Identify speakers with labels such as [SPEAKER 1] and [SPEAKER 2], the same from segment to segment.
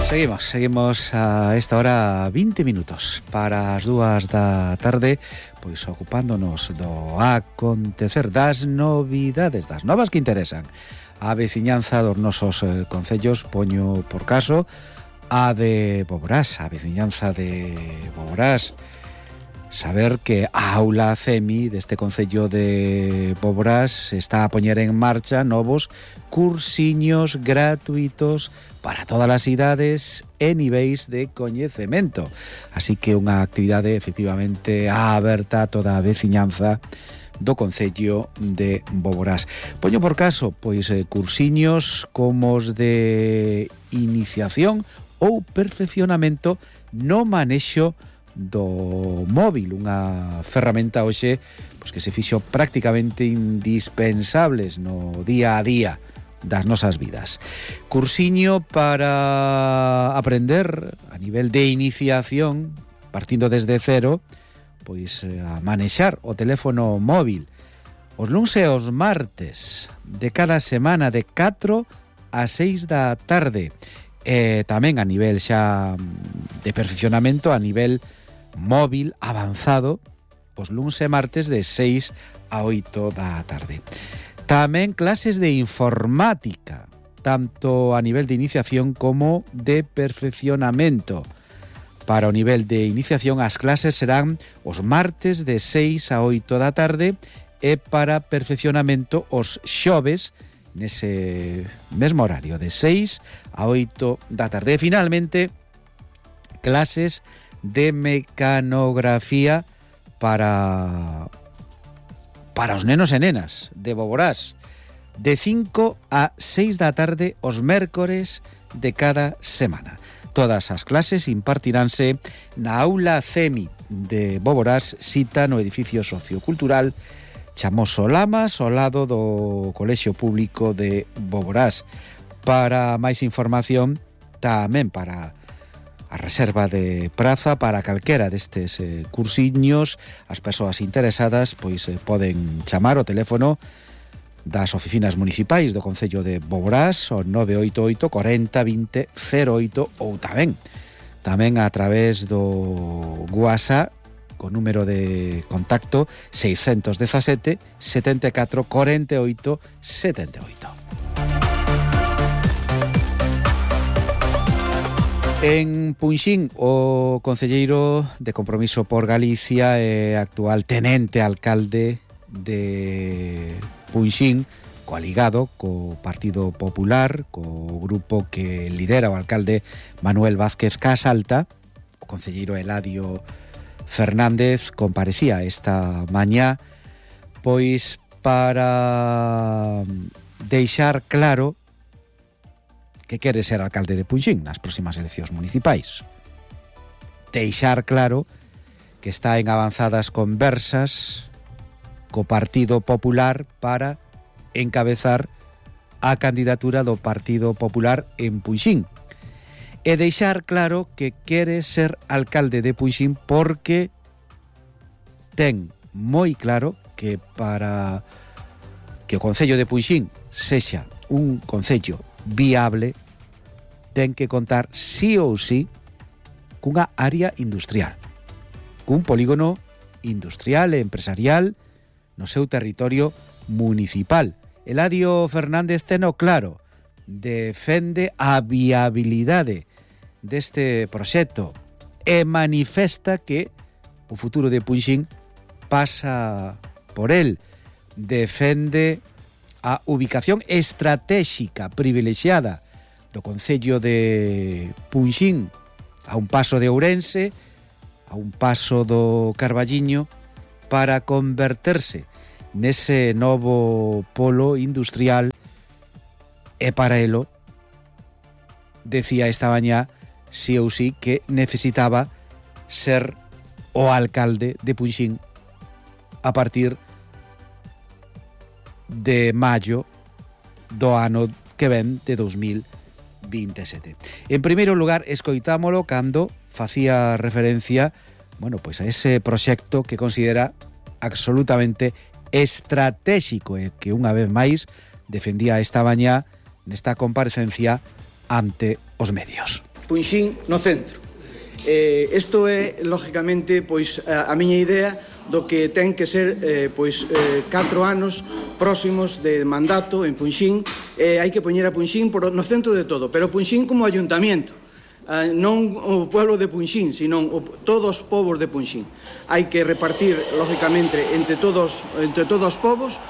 [SPEAKER 1] Seguimos a esta hora 20 minutos para as 2 da tarde, pois ocupándonos do acontecer, das novidades, das novas que interesan a veciñanza dos nosos concellos. Poño por caso a de Boborás, a veciñanza de Boborás. Saber que a aula CEMI deste concello de Boborás está a poñer en marcha novos cursiños gratuitos para todas as idades e niveis de coñecemento. Así que unha actividade efectivamente aberta a toda a veciñanza do concello de Boborás. Poño por caso, pois, cursiños como os de iniciación ou perfeccionamento no manexo do móvil, unha ferramenta hoxe pois que se fixo prácticamente indispensables no día a día das nosas vidas. Cursiño para aprender a nivel de iniciación, partindo desde cero, pois a manexar o teléfono móvil. Os luns e os martes de cada semana de 4 a 6 da tarde. E tamén a nivel xa de perfeccionamento a nivel móvil avanzado os luns e martes de 6 a 8 da tarde. Tamén clases de informática, tanto a nivel de iniciación como de perfeccionamento. Para o nivel de iniciación as clases serán os martes de 6 a 8 da tarde e para perfeccionamento os xoves nese mesmo horario de 6 a 8 da tarde. E finalmente clases de mecanografía para os nenos e nenas de Boborás de 5 a 6 da tarde os mércores de cada semana. Todas as clases impartiránse na aula CEMI de Boborás, cita no edificio sociocultural Chamoso Lamas, ao lado do Colexio Público de Boborás. Para máis información, tamén para a reserva de praza para calquera destes cursiños, as persoas interesadas pois poden chamar o teléfono das oficinas municipais do concello de Boborás, o 988 40 20 08, ou tamén a través do WhatsApp con número de contacto 617 74 48 78. En Punxín, o concelleiro de Compromiso por Galicia e actual tenente alcalde de Punxín, coaligado co Partido Popular, co grupo que lidera o alcalde Manuel Vázquez Casalta, o concelleiro Eladio Fernández comparecía esta mañá pois para deixar claro que quere ser alcalde de Punxín nas próximas eleccións municipais. Deixar claro que está en avanzadas conversas co Partido Popular para encabezar a candidatura do Partido Popular en Punxín. E deixar claro que quere ser alcalde de Punxín porque ten moi claro que para que o concello de Punxín sexa un concello viable, ten que contar sí ou sí cunha área industrial, cun polígono industrial e empresarial no seu territorio municipal. Eladio Fernández teno claro, defende a viabilidade deste proxecto e manifesta que o futuro de Punxín pasa por el. Defende a ubicación estratégica privilexiada do concello de Punxín, a un paso de Ourense, a un paso do Carballiño, para converterse nese novo polo industrial. E para elo, decía esta mañá, sí ou sí, que necesitaba ser o alcalde de Punxín a partir de maio do ano que ven de 2027. En primeiro lugar, escoitámolo cando facía referencia, pois a ese proxecto que considera absolutamente estratégico e que unha vez máis defendía esta mañá nesta comparecencia ante os medios.
[SPEAKER 2] Punxín no centro. Isto é, lógicamente, pois a miña idea do que ten que ser 4 anos próximos de mandato en Punxín. Hai que poñer a Punxín no centro de todo, pero Punxín como ayuntamiento, non o pueblo de Punxín, sino todos os povos de Punxín. Hai que repartir, lógicamente, entre todos os povos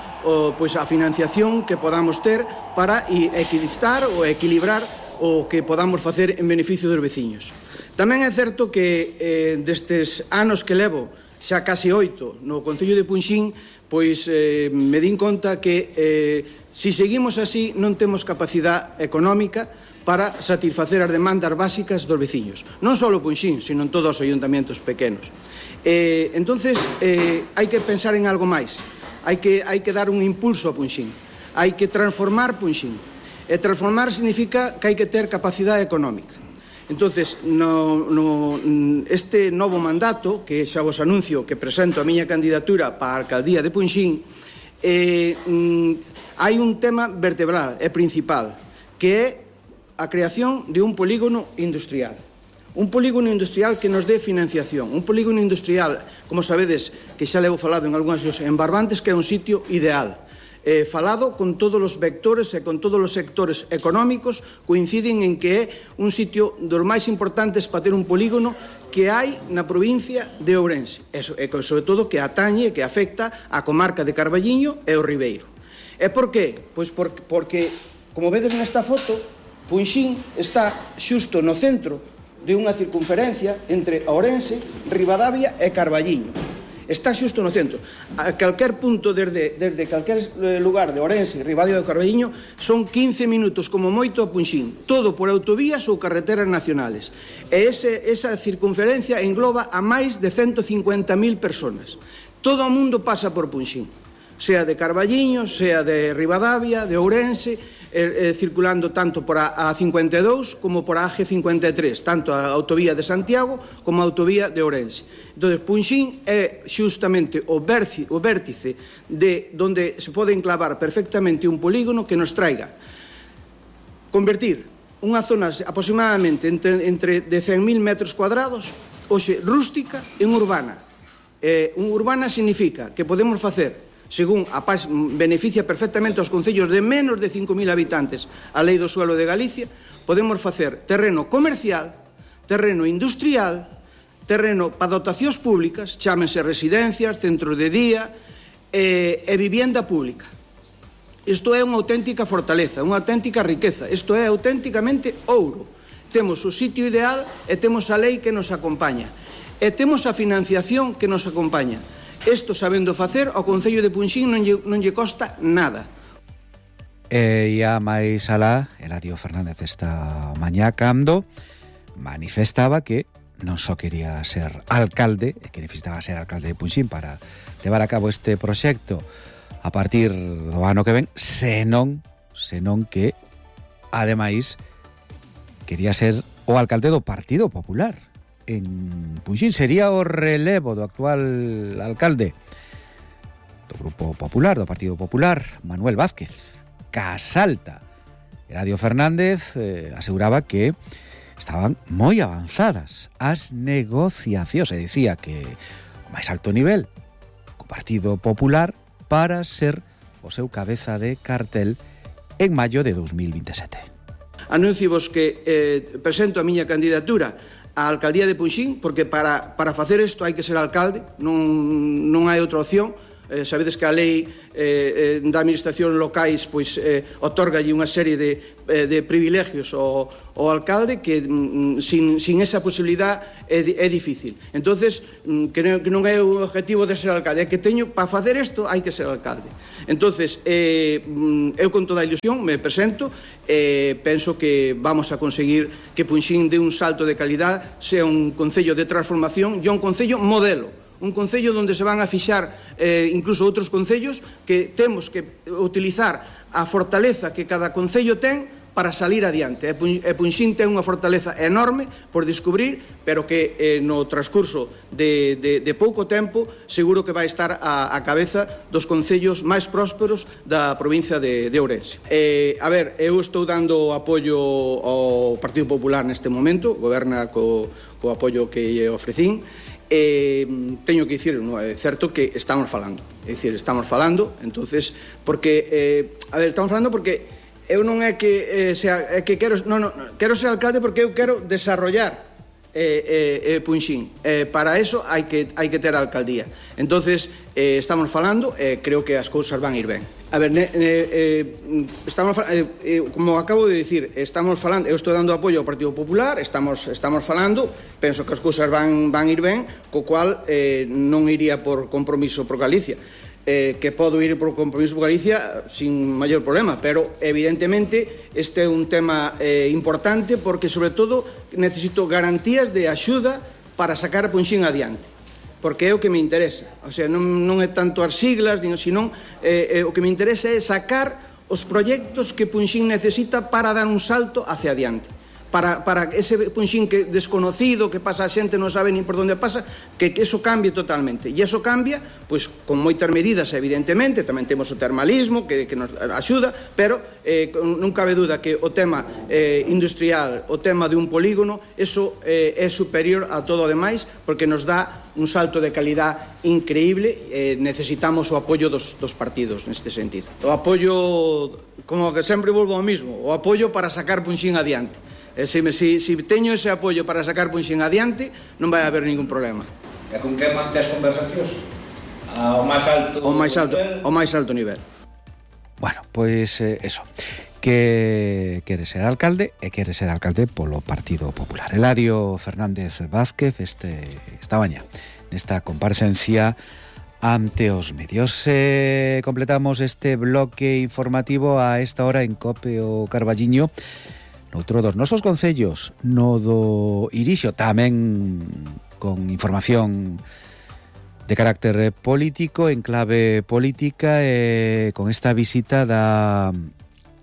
[SPEAKER 2] pois a financiación que podamos ter para equilibrar ou equilibrar o que podamos facer en beneficio dos veciños. Tamén é certo que destes anos que levo, xa case 8, no Concello de Punxín, pois me din conta que se seguimos así non temos capacidade económica para satisfacer as demandas básicas dos veciños. Non só o Punxín, sino en todos os ayuntamentos pequenos. Entonces, hai que pensar en algo máis. Hai que dar un impulso a Punxín. Hai que transformar Punxín. E transformar significa que hai que ter capacidade económica. Entonces, este novo mandato, que xa vos anuncio que presento a miña candidatura para a alcaldía de Punxín, hai un tema vertebral e principal, que é a creación de un polígono industrial. Un polígono industrial que nos dé financiación. Un polígono industrial, como sabedes, que xa levo falado en algunhas en Barbantes, que é un sitio ideal. Falado con todos os vectores e con todos os sectores económicos, coinciden en que é un sitio dos máis importantes para ter un polígono que hai na provincia de Ourense. E sobre todo que atañe, que afecta a comarca de Carballiño e o Ribeiro. E por qué? Pois porque, como vedes nesta foto, Punxín está xusto no centro de unha circunferencia entre Ourense, Ribadavia e Carballiño. Está xusto no centro. A calquer punto, desde calquer lugar de Ourense, Ribadavia e Carballiño, son 15 minutos como moito a Punxín, todo por autovías ou carreteras nacionales. E esa circunferencia engloba a máis de 150.000 personas. Todo o mundo pasa por Punxín, sea de Carballiño, sea de Ribadavia, de Ourense, circulando tanto por a 52 como por a AG53, tanto a autovía de Santiago como a autovía de Ourense. Entón, Punxín é xustamente o vértice de onde se pode enclavar perfectamente un polígono que nos traiga convertir unha zona aproximadamente entre de 100.000 metros cuadrados, hoxe rústica, en urbana. Urbana significa que podemos facer, según a PAS beneficia perfectamente aos concellos de menos de 5.000 habitantes a Lei do Suelo de Galicia, podemos facer terreno comercial, terreno industrial, terreno para dotacións públicas, chámense residencias, centros de día e vivienda pública. Isto é unha auténtica fortaleza, unha auténtica riqueza, isto é auténticamente ouro. Temos o sitio ideal e temos a lei que nos acompaña e temos a financiación que nos acompaña. Isto, sabendo facer, ao Concello de Punxín non lle costa nada.
[SPEAKER 1] E a máis alá, Eladio Fernández esta mañá cando manifestaba que non só quería ser alcalde, e que necesitaba ser alcalde de Punxín para levar a cabo este proxecto a partir do ano que ven, senón que, ademais, quería ser o alcalde do Partido Popular en Punxín. Sería o relevo do actual alcalde do Grupo Popular, do Partido Popular, Manuel Vázquez Casalta. Eladio Fernández aseguraba que estaban moi avanzadas as negociacións e dicía que o máis alto nivel co Partido Popular para ser o seu cabeza de cartel en maio de 2027.
[SPEAKER 2] Anunciovos que presento a miña candidatura a alcaldía de Punxín, porque para facer isto hai que ser alcalde, non hai outra opción. Sabedes que a lei da administración locais pois otorgalle unha serie de privilegios ao alcalde que sin esa posibilidad é difícil. Entonces, que non é o objetivo de ser alcalde, é que teño, para facer isto hai que ser alcalde. Entonces, eu con toda a ilusión me presento e penso que vamos a conseguir que Punxín dé un salto de calidad, sea un concello de transformación e un concello modelo. Un concello onde se van a fixar incluso outros concellos, que temos que utilizar a fortaleza que cada concello ten para salir adiante. E Punxín ten unha fortaleza enorme por descubrir, pero que no transcurso de pouco tempo seguro que vai estar a cabeza dos concellos máis prósperos da provincia de Ourense. Eu estou dando apoio ao Partido Popular neste momento, goberna co apoio que lle ofrecín. Teño que dicir, é certo que estamos falando, entonces, porque estamos falando porque eu non é que quero ser alcalde porque eu quero desarrollar Punxín. Para eso hai que ter a alcaldía. Entonces, estamos falando, creo que as cousas van ir ben. Como acabo de dicir, estamos falando, eu estou dando apoio ao Partido Popular, estamos falando, penso que as cousas van ir ben, co cual non iría por compromiso por Galicia. Que podo ir por compromiso por Galicia sin maior problema, pero evidentemente este é un tema importante porque sobre todo necesito garantías de axuda para sacar a Punxín adiante, porque é o que me interesa. O sea, non é tanto as siglas, senón o que me interesa é sacar os proxectos que Punxín necesita para dar un salto hacia adiante. Para ese Punxín que desconocido, que pasa a xente, non sabe nin por onde pasa, que eso cambie totalmente. E eso cambia, pois, con moitas medidas, evidentemente, tamén temos o termalismo, que nos axuda, pero non cabe duda que o tema industrial, o tema de un polígono, eso é superior a todo o demais, porque nos dá un salto de calidad increíble. Necesitamos o apoio dos partidos neste sentido. O apoio, como que sempre volvo ao mismo, o apoio para sacar Punxín adiante. Se teño ese apoio para sacar Punxín adiante, non vai haber ningún problema.
[SPEAKER 3] E con que mantes conversacións? Ao máis alto nivel.
[SPEAKER 1] Bueno, pois eso, que quere ser alcalde e quere ser alcalde polo Partido Popular. Eladio Fernández Vázquez esta mañá nesta comparecencia ante os medios. Completamos este bloque informativo a esta hora en COPE o Carballiño. Noutro dos nosos concellos, no do Irixo, tamén con información de carácter político, en clave política, con esta visita da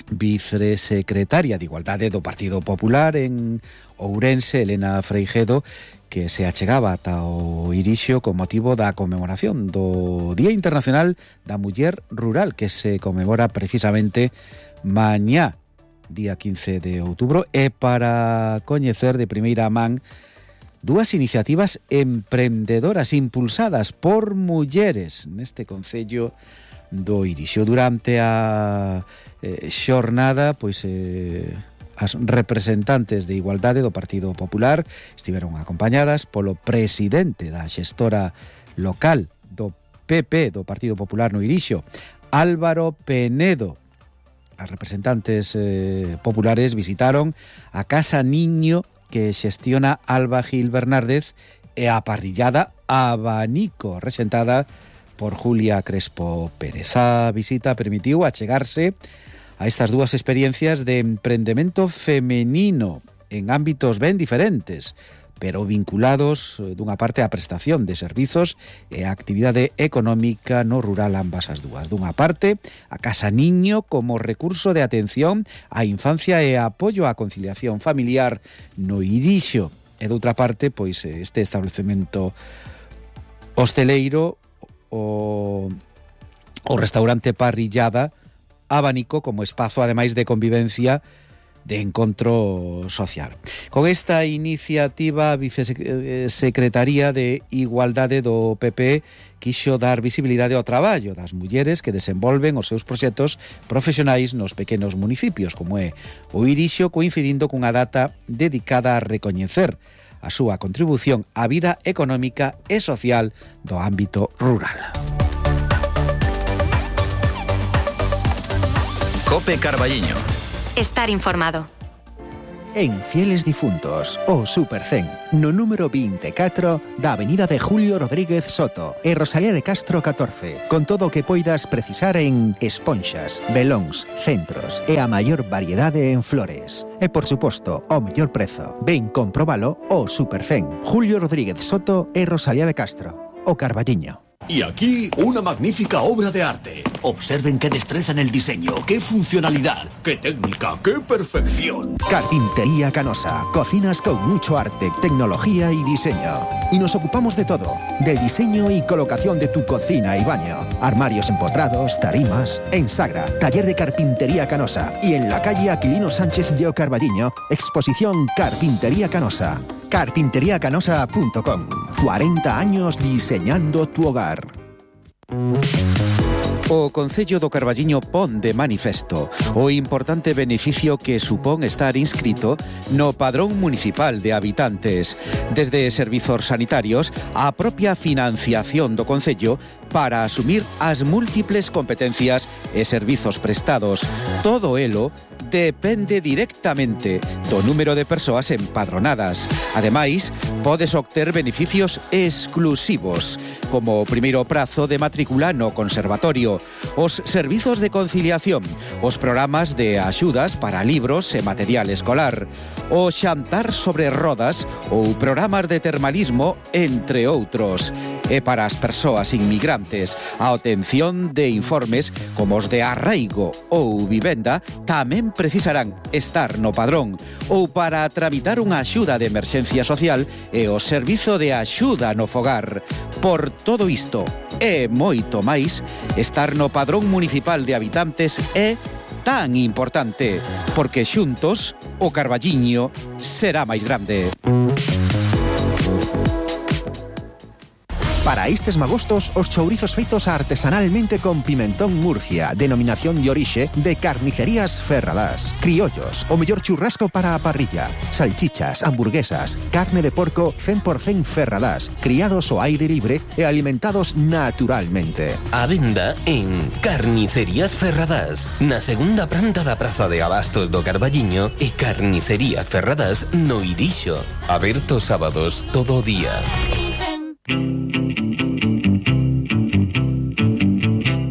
[SPEAKER 1] vicesecretaria de Igualdade do Partido Popular en Ourense, Elena Freijedo, que se achegaba ata o Irixo con motivo da conmemoración do Día Internacional da Muller Rural, que se conmemora precisamente mañá, día 15 de outubro, e para coñecer de primeira man dúas iniciativas emprendedoras impulsadas por mulleres neste concello do Irixo. Durante a xornada, pois as representantes de Igualdade do Partido Popular estiveron acompañadas polo presidente da xestora local do PP, do Partido Popular no Irixo, Álvaro Penedo. As representantes populares visitaron a Casa Niño que xestiona Alba Gil Bernárdez e a parrillada Abanico, rexentada por Julia Crespo Pérez. A visita permitiu achegarse a estas dúas experiencias de emprendemento femenino en ámbitos ben diferentes, pero vinculados dunha parte á prestación de servizos e a actividade económica no rural, ambas as dúas. Dunha parte, a Casa Niño como recurso de atención á infancia e apoio á conciliación familiar no Irixo. E doutra parte, pois este establecemento hosteleiro, o restaurante Parrillada Abanico como espazo, ademais de convivencia, de encontro social. Con esta iniciativa, a Vicesecretaría de Igualdade do PP quixo dar visibilidade ao traballo das mulleres que desenvolven os seus proxectos profesionais nos pequenos municipios, como é o Irixo, coincidindo cunha data dedicada a recoñecer a súa contribución á vida económica e social do ámbito rural.
[SPEAKER 4] COPE Carballiño.
[SPEAKER 5] Estar informado.
[SPEAKER 6] En Fieles Difuntos, o Supercen, no número 24 da avenida de Julio Rodríguez Soto e Rosalía de Castro 14, con todo o que poidas precisar en esponxas, velóns, centros e a maior variedade en flores. E, por suposto, o mellor prezo. Ven comprobalo o Supercen, Julio Rodríguez Soto e Rosalía de Castro, o Carballiño.
[SPEAKER 4] Y aquí, una magnífica obra de arte. Observen qué destreza en el diseño, qué funcionalidad, qué técnica, qué perfección.
[SPEAKER 6] Carpintería Canosa. Cocinas con mucho arte, tecnología y diseño. Y nos ocupamos de todo. Del diseño y colocación de tu cocina y baño. Armarios empotrados, tarimas. En Sagra, taller de Carpintería Canosa. Y en la calle Aquilino Sánchez de Carballiño, exposición Carpintería Canosa. Carpinteriacanosa.com. 40 años diseñando tu hogar.
[SPEAKER 1] O Concello do Carballiño pon de manifesto o importante beneficio que supón estar inscrito no Padrón Municipal de Habitantes, desde servizos sanitarios á propia financiación do Concello para asumir as múltiples competencias e servizos prestados. Todo elo depende directamente do número de persoas empadronadas. Ademais, podes obter beneficios exclusivos, como o primeiro prazo de matrícula no conservatorio, os servizos de conciliación, os programas de axudas para libros e material escolar, o xantar sobre rodas ou programas de termalismo, entre outros. E para as persoas inmigrantes, a obtención de informes como os de arraigo ou vivenda tamén precisarán estar no padrón, ou para tramitar unha axuda de emerxencia social e o servizo de axuda no fogar. Por todo isto e moito máis, estar no Padrón Municipal de Habitantes é tan importante, porque xuntos o Carballiño será máis grande.
[SPEAKER 6] Para estes magostos, os chourizos feitos artesanalmente con pimentón Murcia, denominación de orixe de Carnicerías Ferradás. Criollos, o mellor churrasco para a parrilla. Salchichas, hamburguesas, carne de porco 100% Ferradás, criados ao aire libre e alimentados naturalmente.
[SPEAKER 7] A venda en Carnicerías Ferradás, na segunda planta da Praza de Abastos do Carballiño e Carnicería Ferradás no Irixo. Aberto sábados todo o día.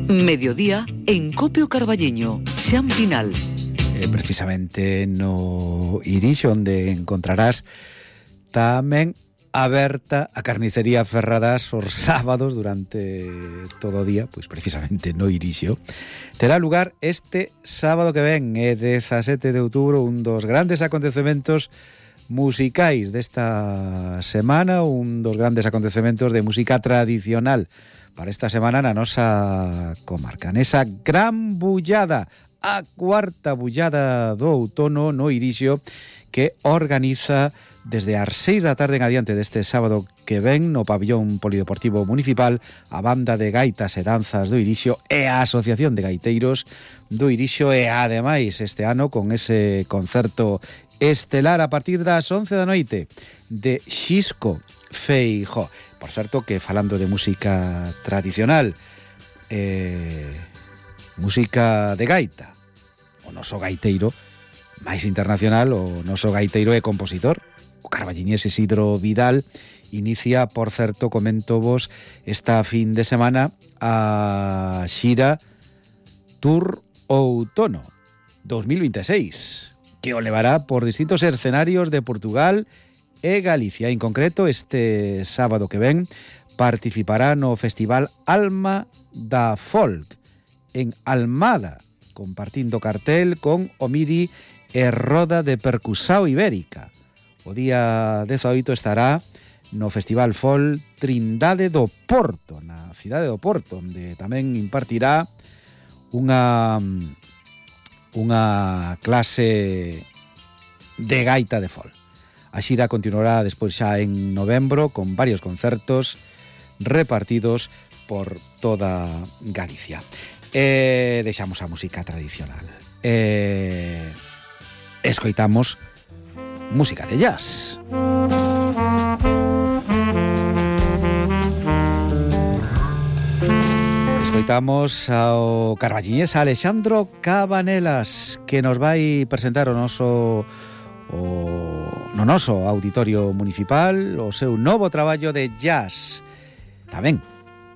[SPEAKER 8] Mediodía en Copio Carballiño, Xan Pinal.
[SPEAKER 1] Precisamente no Irixo, onde encontrarás tamén aberta a Carnicería Ferradás os sábados durante todo o día, pois precisamente no Irixo. Terá lugar este sábado que ven, 17 de outubro, un dos grandes acontecementos musicais desta semana, un dos grandes acontecementos de música tradicional para esta semana na nosa comarca. Nesa gran bullada, a cuarta bullada do outono no Irixo, que organiza desde as 6 da tarde en adiante deste sábado que ven no pabillón polideportivo municipal a banda de gaitas e danzas do Irixo e a Asociación de Gaiteiros do Irixo, e ademais este ano con ese concerto estelar a partir das 11 da noite de Xisco Feijó. Por certo que, falando de música tradicional, música de gaita, o noso gaiteiro máis internacional, o noso gaiteiro e compositor, o carballiñés Isidro Vidal, inicia, por certo, comento vos, esta fin de semana a xira Tour Outono 2026, que o levará por distintos escenarios de Portugal e Galicia. En concreto, este sábado que ven participará no Festival Alma da Folk en Almada, compartindo cartel con Omiri e Roda de Percusao Ibérica. O día 18 estará no Festival Folk Trindade do Porto, na cidade do Porto, onde tamén impartirá unha clase de gaita de folk. A xira continuará despois xa en novembro con varios concertos repartidos por toda Galicia. Deixamos a música tradicional. Escoitamos música de jazz. Escoitamos ao carballiñés Alexandro Cabanelas, que nos vai presentar no noso auditorio municipal o seu novo traballo de jazz. Tamén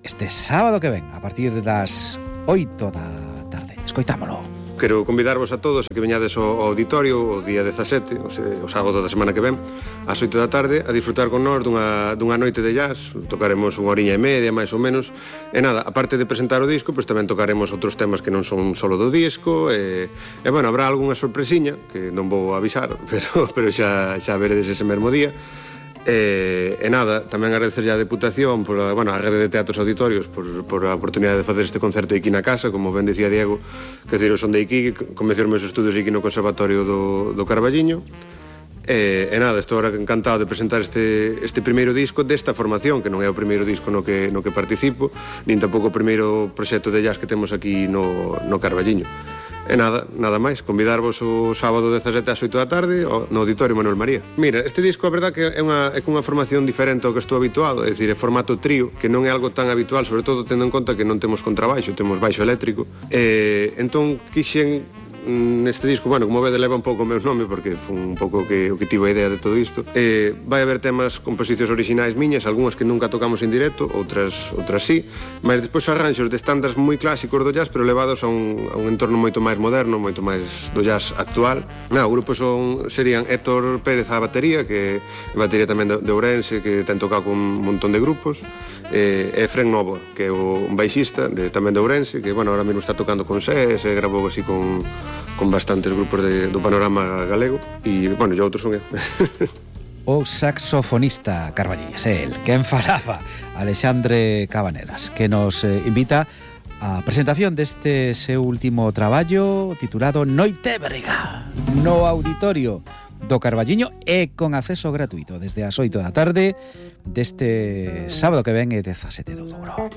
[SPEAKER 1] este sábado que ven, a partir das 8 da tarde. Escoitámolo.
[SPEAKER 9] quero convidarvos a todos a que veñades ao auditorio o día 17, o sábado da semana que ven, ás 8 da tarde, a disfrutar con nós dunha noite de jazz. Tocaremos unha horiña e media, máis ou menos, e nada, aparte de presentar o disco, pois tamén tocaremos outros temas que non son solo do disco, e bueno, habrá algunha sorpresiña que non vou avisar, pero xa veredes ese mesmo día. E nada, tamén agradecer a Deputación por, a Rede de Teatros Auditorios por a oportunidade de facer este concerto aquí na casa, como ben dicía Diego, que decir, son de aquí, comecei os meus estudos aquí no Conservatorio do Carballiño. E nada, estou agora encantado de presentar este primeiro disco desta formación, que non é o primeiro disco no que participo, nin tampouco o primeiro proxecto de jazz que temos aquí no Carballiño. E nada máis, convidarvos o sábado 17 ás 8 da tarde no Auditorio Manuel María. Mira, este disco a verdad que é cunha formación diferente ao que estou habituado, é dicir, é formato trío, que non é algo tan habitual, sobre todo tendo en conta que non temos contrabaixo, temos baixo eléctrico. Entón quixen neste disco, como vede, leva un pouco o meu nome, porque foi un pouco o que tivo a idea de todo isto. Vai haber temas, composicións orixinais miñas, algunhas que nunca tocamos en directo, outras sí, mas despois arranxos de estándares moi clásicos do jazz, pero levados a un entorno moito máis moderno, moito máis do jazz actual. O grupo serían Héctor Pérez á batería, que é batería tamén de Ourense, que ten tocado con un montón de grupos, e Fren Novo, que é un baixista tamén de Ourense, que ahora mesmo está tocando con SES, e grabou así con bastantes grupos do panorama galego, e outros son eu.
[SPEAKER 1] O saxofonista carballiñés, el quen falaba, Alexandre Cabanelas, que nos invita a presentación deste seu último traballo titulado Noitebrega, no Auditorio do Carballiño, e con acceso gratuito desde as 8 da tarde deste sábado que ven, 17 de outubro.